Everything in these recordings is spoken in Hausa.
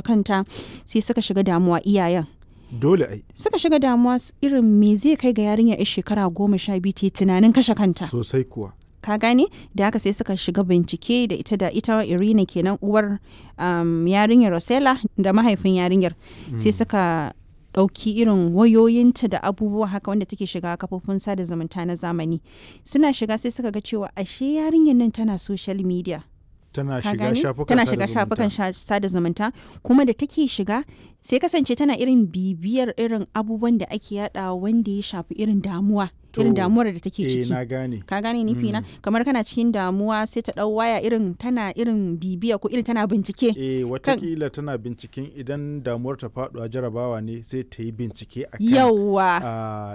Kanta sai suka shiga damuwa iyayen. Dole ai. Suka shiga damuwa irin me zai kai ga yarinya 'yar shekara 12 ta yi tunanin kashe kanta. Sosai kuwa. Ka gane? Da haka sai suka shiga bincike da ita Irina kenan, uwar yarinyar Rosella da mahaifin yarinyar. Sai suka ɗauki irin wayoyinta da abubuwa haka wanda take shiga kafofin sada zumunta na zamani. Suna shiga sai suka ga cewa ashe yarinyar nan tana social media. Tana Ka shiga gane? shafukan Tana sada shiga zumunta. shafukan sada zumunta, kuma da take shiga sai kasance tana irin bibiyar irin abubuwan da ake yadawa wanda ya shafi irin damuwa, irin To, damuwar da take eh, ciki. na gane. Ka gane nufi na? Kamar kana cikin damuwa sai ta ɗau waya, irin tana irin bibiya ko irin tana bincike. Eh, watakila tana binciken idan damuwar ta faɗuwa jarabawa ne, sai ta yi bincike akan Yawwa.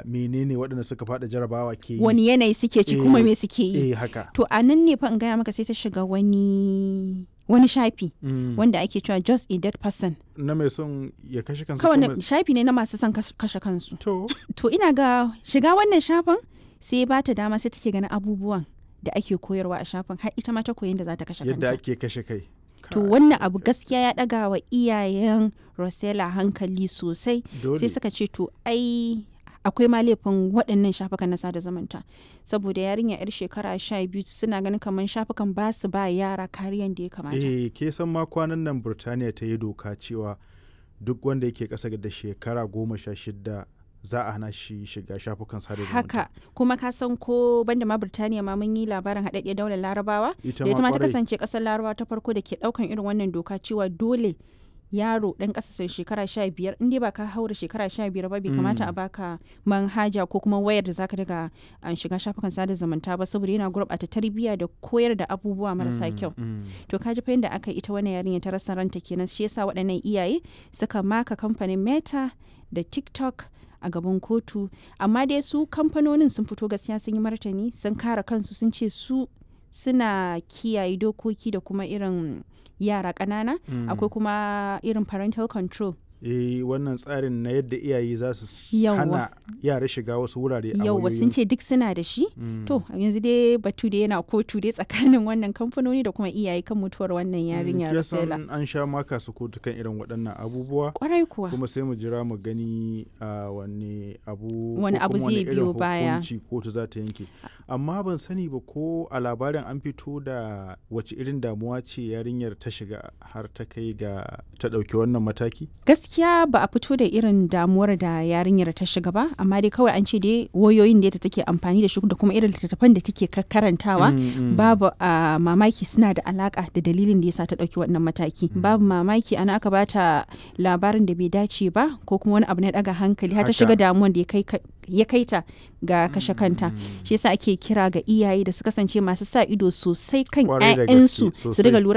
Menene waɗanda suka faɗi jarabawa ke yi. Wani yanayi suke ci kuma Eh, me suke yi. Eh, haka. To, a nan ne fa in gaya maka sai ta shiga wani shafi wanda ake cewa "Just a Dead Person". Na mai son ya kashe kansa Kawai ko mai- shafi ne na masu son kashe kansu. To, To, ina ga shiga wannan shafin sai ba ta dama, sai take ganin abubuwan da ake koyarwa a shafin, har ita ma ta koyi yadda za ta kashe yadda kanta. ake kashe kai. To, Kai, wannan abu gaskiya ya ɗaga wa iyayen Rosella hankali sosai. Dole. Sai suka ce to ai akwai ma laifin waɗannan shafukan na sada zumunta, saboda yarinya yar shekara 12, suna ganin kamar shafukan ba su ba yara kariyan da ya kamata. Eh, ke san ma kwanan nan Burtaniya ta yi doka cewa duk wanda yake ƙasa da shekara 16 za a hana shi shiga shafukan sada zumunta. Haka kuma ka san ko banda ma Birtaniya ma, mun yi labarin haɗaɗɗiyar daular Larabawa Ita da ita ma ta kwarai. kasance ƙasar Larabawa ta farko da ke ɗaukan irin wannan doka cewa dole yaro ɗan ƙasa sai shekara 15, in dai ba ka haura shekara 15 ba, bai kamata a baka manhaja ko kuma wayar da zaka daga an shiga shafukan sada zumunta ba, saboda yana gurɓata tarbiyya da koyar da abubuwa marasa kyau. To, ka ji fa yadda aka yi ita wannan yarinya ta rasa ranta kenan. Shi yasa waɗannan iyaye suka maka kamfanin Meta da TikTok a gaban kotu. Amma dai su kamfanonin sun fito gaskiya sun yi martani, sun kare kansu, sun ce su suna kiyaye dokoki da kuma irin yara ƙanana, akwai kuma irin parental control. Eh, wannan tsarin na yadda iyaye za su Yawwa. hana yara shiga wasu wurare a Yauwa, sun wayoyinsu. ce duk suna da shi. To, yanzu dai batu da yana kotu dai tsakanin wannan kamfanoni da kuma iyaye kan mutuwar wannan yarinya Ke Rosella. san an sha maka su kotu kan irin waɗannan abubuwa. Kwarai kuwa. Kuma sai mu jira mu gani a wani abu Wani ko abu kuma wani zai irin biyo baya. hukunci kotu za ta yanke. Amma ban sani ba ko a labarin an fito da wace irin damuwa ce yarinyar ta shiga har ta kai ga ta ɗauki wannan mataki. Gaskiya ba a fito da irin damuwar da yarinyar ta shiga ba, amma dai kawai an ce dai wayoyin da take amfani da shi da kuma irin littattafan da take karantawa, babu a mamaki suna da alaka da dalilin da yasa ta dauki wannan mataki. Babu mamaki ana aka bata labarin da bai dace ba ko kuma wani abu na daga hankali har ta Haka. shiga damuwan da ya kai ta ga kashe kanta. Shi yasa ake kira ga iyaye da su kasance masu sa ido sosai kan Kwarai da gaske, 'ya'yansu, su sosai. riga lura.